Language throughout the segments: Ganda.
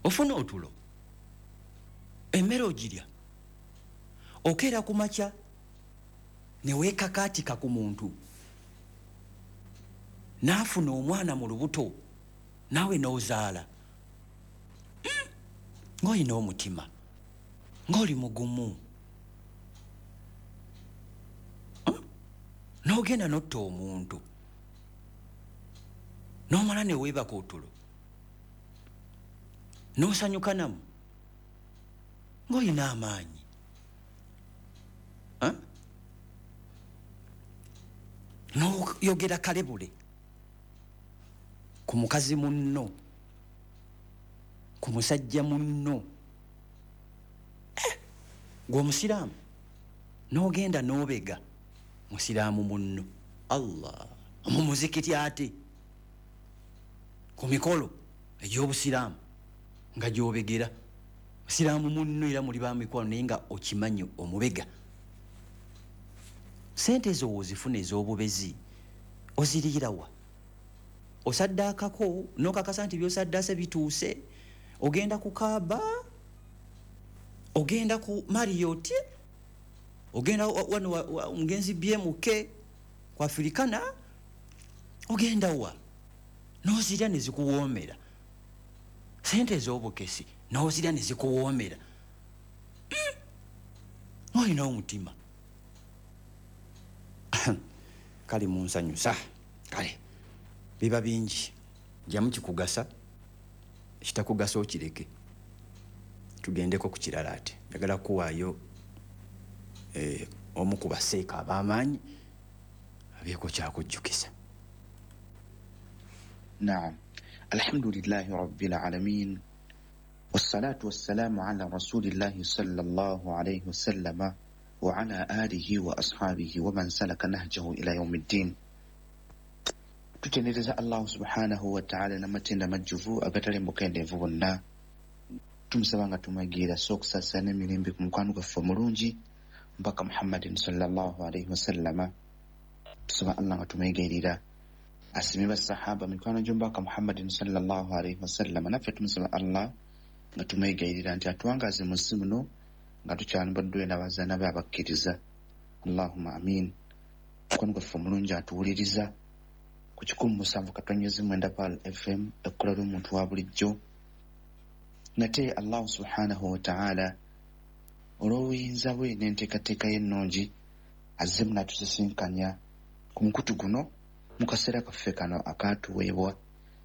Ofuna otulo, emmere ogirya, okeera ku makya ne weekakaatika ku muntu n'afuna omwana mu lubuto naawe n'ozaala. Ng'olina omutima, ng'oli mugumu, n'ogenda n'otta omuntu n'omala ne weebaka otulo n'osanyuka namu ng'olina amaanyi. N'oyogera kalebule ku mukazi munno, ku musajja munno, gwe omusiraamu n'ogenda n'obega musiraamu munno. Allah, mu muzikiti ate ku mikolo egy'obusiraamu nga gy'obegera musiraamu munno, era muli ba mikwano naye nga okimanyi omubega. Sente ezo w'ozifuna ez'obubezi oziriirawa? Osaddaakako n'okakasa nti by'osaddaase bituuse? Ogenda ku Kaaba, ogenda ku Marriott, ogenda wano omugenzi BMK ku Africana, ogenda wa n'ozirya ne zikuwoomera? Sente ez'obukesi n'ozirya ne zikuwoomera. Olina omutima. Kale munsanyusa, kale biba bingi, jamu kikugasa, ekitakugasa okireke. Tugendeko ku kirala. Ate njagala kuwaayo omu ku baseeka ab'amaanyi abeeko kyakujjukiza. Naam, alhamdulillahi rabbil alamin, wassalatu wassalamu ala rasulillahi sallallahu alayhi wasallama wa ala alihi wa ashabihi wa man salaka nahjahu ila yaumi ddin. Tutendereza Allahu subhanahu wataala n'amatenda majjuvu agatali mukendeevu bonna. Tumusaba nga tumwegiira so okusaasira n'emirembe ku mukwano gwaffe omulungi mpaka Muhammadin sallallahu alaihi wasallama. Tusaba Allah nga tumwegerera asime basahaba mikwano gy'omubaka Muhammadin sallallahu alaihi wasallama. Naffe tumusaba Allah nga tumwegayirira nti atuwangaaze mu nsi muno nga tukyalibaddwe n'abazaana be abakkiriza. Allahumma amin. Mukwano gwaffe omulungi atuwuliriza ku 107.9 Pearl FM, ekkola ly'omuntu wa bulijjo. Nate Allahu subhanahu wataala olw'obuyinza bwe n'enteekateeka ye ennungi azzemu n'atusisinkanya ku mukutu guno mu kaseera kaffe kano akaatuweebwa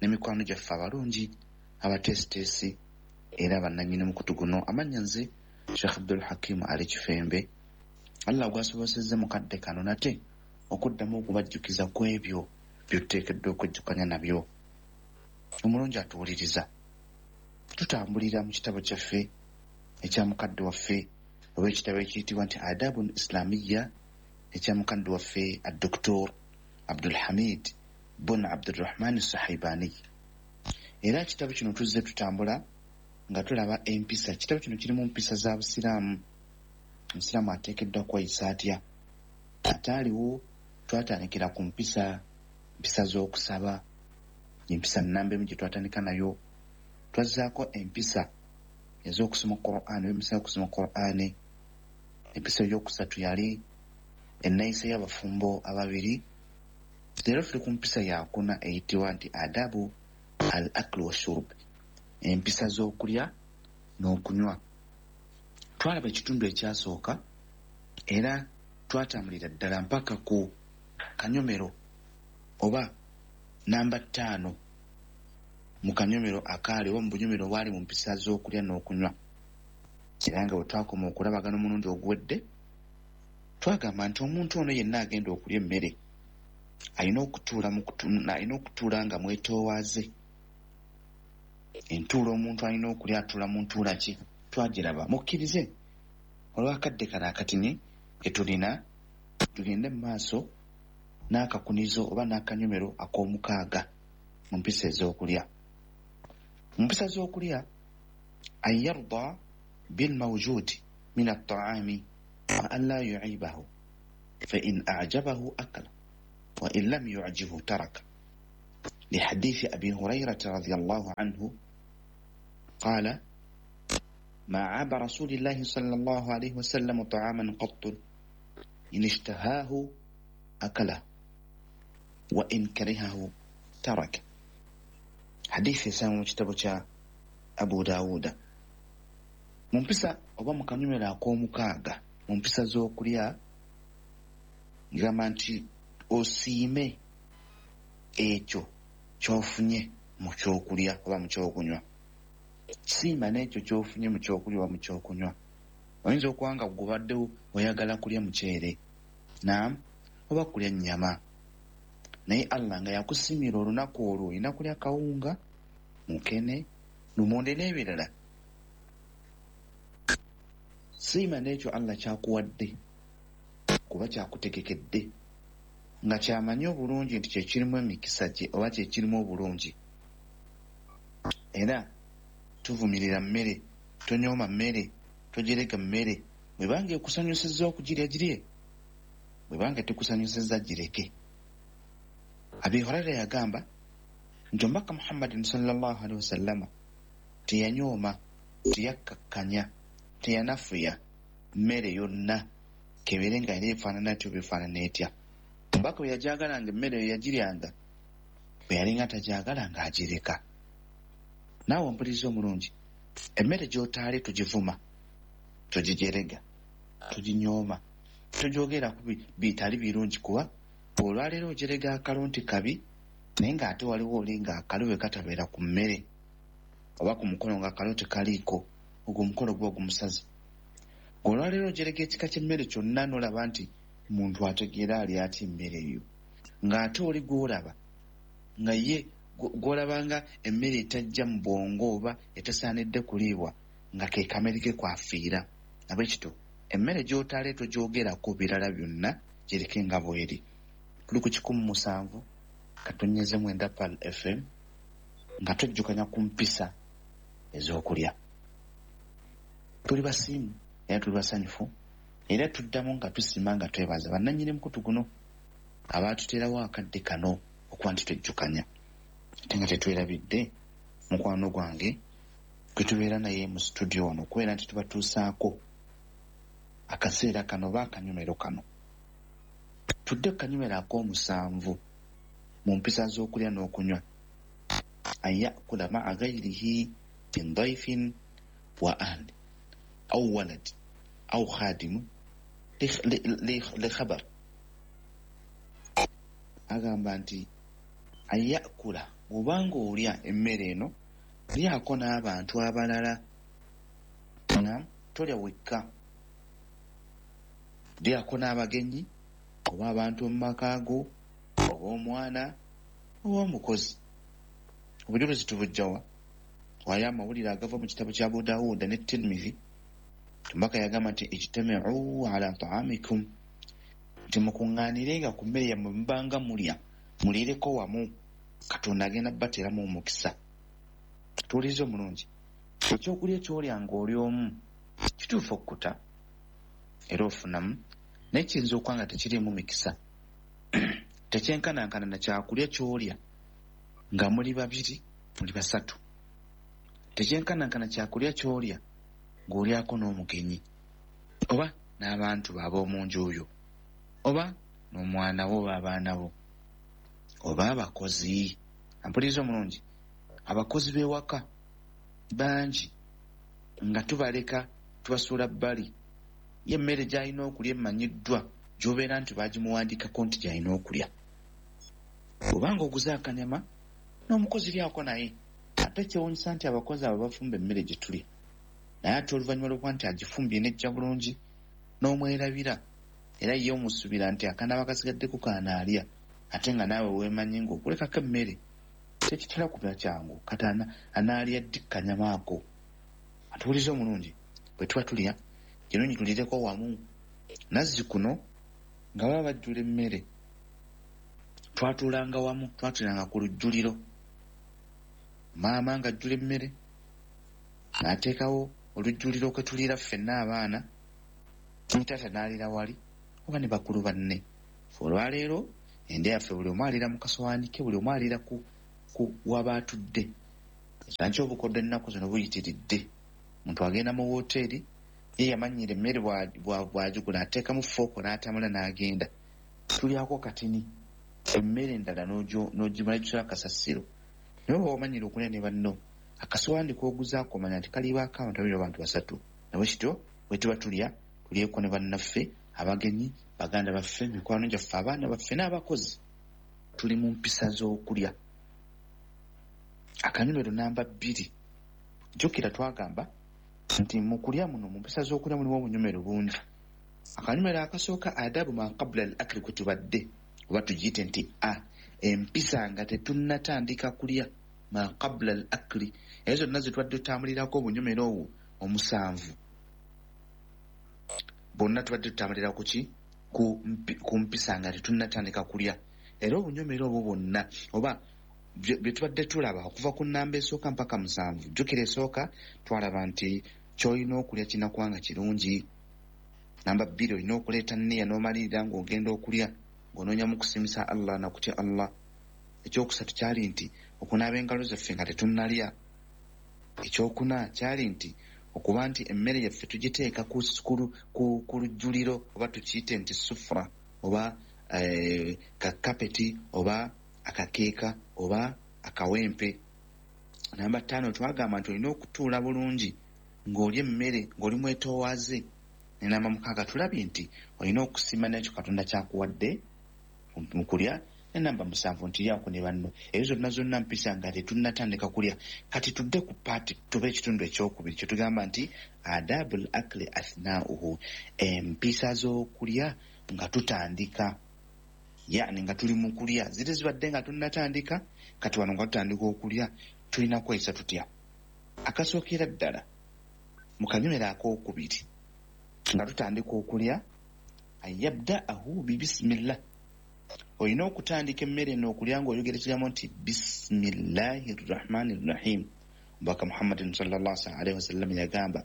n'emikwano gyaffe abalungi abateesiteesi era bannannyini mukutu guno. Amannya nze Sheikh Abdul Hakimu Ali Kifembe. Allah gwasobosezza mu kadde kano nate okuddamu okubajjukiza ku ebyo byotuteekeddwa okwejjukanya nabyo. Omulungi atuwuliriza, tutambulira mu kitabo kyaffe ekya mukadde waffe oba ekitabo ekiyitibwa nti Adabun Islamiya ekya mukadde waffe Adoktor Abdulhamid bun Abdurrahman Sahibani. Era ekitabo kino tuzze tutambula nga tulaba empisa. Ekitabo kino kirimu mpisa za busiraamu, omusiraamu ateekeddwa kweyisa atya. Ate aliwo twatandikira ku mpisa z'okusaba, empisa nnamba emu gye twatandika nayo. Twazzaako empisa ez'okusoma Qur'an, empisa y'okusoma Qur'an. Empisa ey'okusatu yali enneeyisa y'abafumbo ababiri. Leero tuli ku mpisa yakuna eyitibwa nti adabu al akl wa shurb, empisa z'okulya n'okunywa. Twalaba ekitundu ekyasooka era twatambulira ddala mpaka ku kanyomero oba namba 5 mu kanyomero akaali oba mu bunyomero obwali mu mpisa z'okulya n'okunywa. Era nga bwe twakoma okulabagana omulundi oguwedde, twagamba nti omuntu ono yenna agenda okulya emmere alina okutuula nga mwetoowaaze. Entuula omuntu alina okulya atuula mu ntuula ki? Twagiraba. Mukkirize olw'akadde kano akatini ke tulina tugende mu maaso n'akakunizo oba n'akanyomero ak'omukaaga mu mpisa ez'okulya. Mu mpisa z'okulya, an yarda bilmawjudi min attaami wa an la yuibahu fa in ajabahu akala wa in lam yujibu taraka, lihadithi Abi Hurairata radiyallahu anhu Qala ma aba rasulillahi sallallahu alayhi wasallam ta'aman qattu in ishtahahu akala wa in karihahu taraka. Hadithi esangwa mu kitabo kya Abu Dawuda. Mu mpisa oba mu kanyumero ak'omukaaga mu mpisa z'okulya, ngamba nti osiime ekyo ky'ofunye mu kyokulya oba mu kyokunywa. Siima n'ekyo ky'ofunye mu kyokulya oba mu kyokunywa. Oyinza okuba nga gubadde oyagala kulya muceere, naam, oba kulya nnyama, naye Allah nga yakusimira olunaku olwo olina kulya kawunga, mukene, lumonde n'ebirala. Siima n'ekyo Allah kyakuwadde kuba kyakutegekedde nga kyamanyi obulungi nti kyekirimu emikisa gye oba kyekirimu obulungi. Era tuvumirira mmere, tonyooma mmere, togerega mmere. Bwebanga ekusanyusizza okugirya girye, bwebanga tekusanyusizza gireke. Abi Huraira yagamba nti omubaka Muhammadin sallallahu alaihi wasallama teyanyooma, teyakkakkanya, teyanafuya mmere yonna kebeere nga era efaanana etyo befaanana etya. Omubaka bwe yajagalanga emmere eyo yagiryanga, bwe yalinga tagyagala ng'agireka. Naawe ompuliriza omulungi, emmere gy'otaale tugivuma, tugijerega, tuginyooma, tugyogerako bitali birungi, kuba olwaleero ojerega akalo nti kabi, naye ng'ate waliwo oli ng'akalo bwe katabeera ku mmere oba ku mukono ng'akalo tekaliiko, ogwo omukolo guba gumusaze. Olwaleero ojerega ekika ky'emmere kyonna n'olaba nti muntu ategeera ali atya emmere eyo, ng'ate oli gw'olaba nga ye gw'olabanga emmere etajja mu bwongo oba etasaanidde kuliibwa nga ke kamere ke kwafiira. Nabwekityo emmere gy'otaale togyogerako birala byonna, gireke nga bw'eri. Tuli ku 107.9 Pearl FM nga twejjukanya ku mpisa ez'okulya. Tuli basiimu era tuli basanyufu, era tuddamu nga tusima nga twebaza bannannyini mukutu guno abaatuteerawo akadde kano okuba nti twejjukanya, ate nga tetwerabidde mukwano gwange gwe tubeera naye mu studio wano okubeera nti tubatuusaako akaseera kano oba akanyumero kano. Tudde ku kanyumero ak'omusanvu mu mpisa z'okulya n'okunywa. An yakula ma'a ghairihi min daifin wa ahli aw walad aw khadimu li khabar. Agamba nti an yakula, bw'obanga olya emmere eno lyako n'abantu abalala, tolya wekka, lyako n'abagenyi oba abantu mu maka go oba omwana oba omukozi. Obujulizi tubujjawa? Wayo amawulire agava mu kitabo kya Abu Dawuda ne Tirmidhi. Omubaka yagamba nti ijtamiu ala taamikum, nti mukuŋŋaanirenga ku mmere yammwe mubanga mulya, muliireko wamu, Katonda agenda bateeramu omukisa. Tuwulirize omulungi, ekyokulya ky'olya ng'oli omu kituufu okkuta era ofunamu, naye kiyinza okuba nga tekiriimu mikisa. Tekyenkanankana na kyakulya ky'olya nga muli babiri, muli basatu. Tekyenkanankana kyakulya ky'olya ng'olyako n'omugenyi oba n'abantu ab'omu nju oyo oba n'omwana wo oba abaana bo oba abakozi. Ampuliriza omulungi, abakozi b'ewaka bangi nga tubaleka tubasuula bbali. Ye emmere gy'alina okulya emanyiddwa gy'obeera nti bagimuwandiikako nti gy'alina okulya. Bw'obanga oguze akanyama n'omukozi lyako naye. Ate kyewuunyisa nti abakozi abo bafumba emmere gye tulya, naye ate oluvannyuma lw'okuba nti agifumbye n'ejja bulungi n'omwerabira, era ye omusuubira nti akanaaba kasigaddeko kaanaalya, ate nga naawe weemanyi ng'okulekako emmere tekitera kuba kyangu, kati anaalya ddi kanyama ako. Atuwulize omulungi, bwe tuba tulya kirungi tulireko wamu. Nazzi kuno nga baba bajjula emmere twatuulanga wamu, twatuulanga ku lujjuliro. Maama ng'ajjula emmere n'ateekawo olujjuliro kwe tuliira ffenna abaana, ne taata n'aliira wali oba ne bakulu banne. Ffe olwaleero endya yaffe buli omu aliira mu kasowaani ke, buli omu aliira ku waba atudde. Nakyo obukoddo ennaku zino buyitiridde. Omuntu agenda mu woteeri, ye yamanyira emmere bw'agigula ateekamu fooko n'atamula n'agenda. Tulyako katini, emmere endala n'ogimala gisula kasasiro. Naye oba wamanyira okulya ne banno, akasowaani k'oguzaako omanya nti kalibaako abantu babiri oba abantu basatu. Nabwe kityo bwe tuba tulya, tulyeko ne bannaffe, abagenyi, baganda baffe, mikwano gyaffe, abaana baffe n'abakozi. Tuli mu mpisa z'okulya. Akanyomero namba 2. Jjukira twagamba nti mu kulya muno, mu mpisa z'okulya mulimu obunyomero bungi. Akanyomero akasooka adabu ma qabla al akli kwe tubadde, oba tugiyite nti a empisa nga tetunnatandika kulya, ma qabla al akli. Ezo zonna ze tubadde tutambulirako obunyomero obwo omusanvu, bonna tubadde tutambulira ku ki? Ku mpisa nga tetunnatandika kulya. Era obunyomero obwo bwonna oba bye tubadde tulaba okuva ku nnamba esooka mpaka 7. Jjukira esooka twalaba nti ky'olina okulya kirina kuba nga kirungi. Namba 2, olina okuleeta nniya n'omalirira ng'ogenda okulya ng'onoonya mu kusiimisa Allah na kutya Allah. Ekyokusatu kyali nti okunaaba engalo zaffe nga tetunnalya. Ekyokuna kyali nti okuba nti emmere yaffe tugiteeka ku lujjuliro, oba tukiyite nti sufra, oba kakapeti, oba akakeeka, oba akawempe. Namba 5 twagamba nti olina okutuula bulungi ng'olya emmere ng'oli mwetoowaze. Ne namba 6 tulabye nti olina okusiima n'ekyo Katonda ky'akuwadde mu kulya. Ne namba 7 nti lyako ne banno. Ezo zonna zonna mpisa nga tetunnatandika kulya. Kati tudde ku paati tuba ekitundu ekyokubiri kye tugamba nti adabul akli athnauhu, empisa z'okulya nga tutandika, yani nga tuli mu kulya. Ziri zibadde nga tunnatandika, kati wano nga tutandika okulya tulina kweyisa tutya? Akasookera ddala mu kanyomero akookubiri nga tutandika okulya, ayabdaahu bibismillah. Olina okutandika emmere eno okulya ng'oyogera ekigambo nti bismillahi rrahmani rrahim. Omubaka Muhammadin sallallahu alaihi wasallam yagamba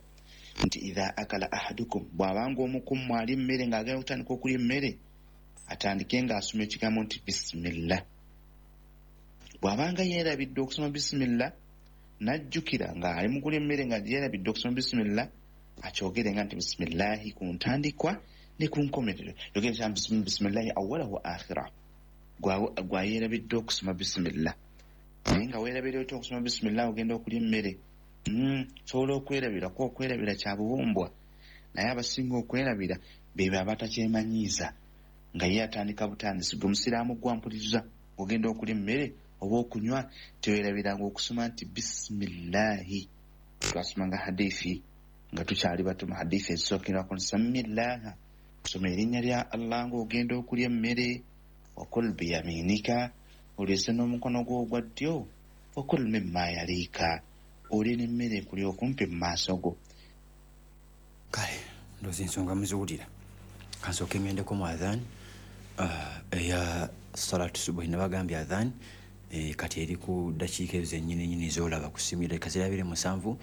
nti idha akala ahadukum, bw'abanga omu ku mmwe alya emmere ng'agenda okutandika okulya emmere, atandike ng'asoma ekigambo nti bisimillah. Bw'abanga yeerabidde okusoma bisimillah, n'ajjukira ng'ali mu kulya emmere nga yeerabidde okusoma bisimillah, akyogere nga nti bisimillahi ku ntandikwa ne ku nkomerero. Yogere nti bisimillahi awwalahu wa akhira. Gwa yeerabidde okusoma bisimillah, naye nga weerabira otya okusoma bisimillah ogenda okulya emmere? Sobola okwerabirako, okwerabira kya bubumbwa, naye abasinga okwerabira bebe abatakyemanyiiza nga ye atandika butandisi. Gwe musiraamu gwampuliriza, ogenda okulya emmere oba okunywa, tewerabiranga okusoma nti bisimillahi. Twasomanga hadithi nga tukyali bato, mu hadithi ezisookerwako nti sammillaha, kusoma erinnya lya Allah ng'ogenda okulya emmere, wakul biyaminika, olyese n'omukono gwo ogwa ddyo, wakul mimma yaliika, olye n'emmere ekuli okumpi mu maaso go. Kale ndowooza ensonga muziwulira. Kansooke ŋŋendeko mu adhan eya salatu subuhi. Nabagambye adhan kati eri ku ddakiika ezo zennyini nyini z'olaba ku ssimu, eddakiika ziri 27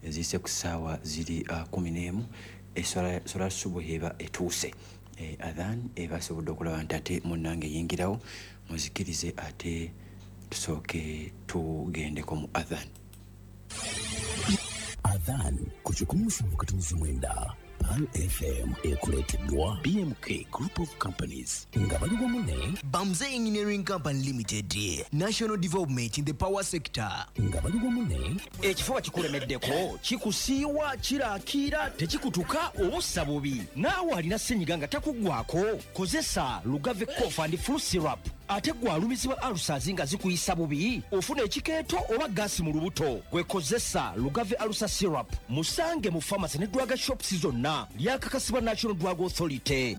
eziyise ku ssaawa ziri 11. Salatu subuhi eba etuuse. Adhan eba asobodde okulaba nti ate munnange eyingirawo, muzikirize ate tusooke tugendeko mu adhan. Adhan ku 107.9 Pearl FM ekuleeteddwa BMK Group of Companies nga bali wamu ne Bamze Engineering Company Limited, National Development in the Power Sector. Nga bali wamu ne Ekifuba kikulemeddeko, kikusiiwa, kirakiira, tekikutuka oba ossa bubi. Naawe alina senyiga nga takuggwako, kozesa Lugave Cough and Flu Syrup. Ate gwe alumizibwa ulcers nga zikuyisa bubi, ofuna ekikeeto oba gaasi mu lubuto, gwe kozesa Lugave Ulcer Syrup. Musange mu pharmacy ne drug shops zonna. Lyakakasibwa National Drug Authority.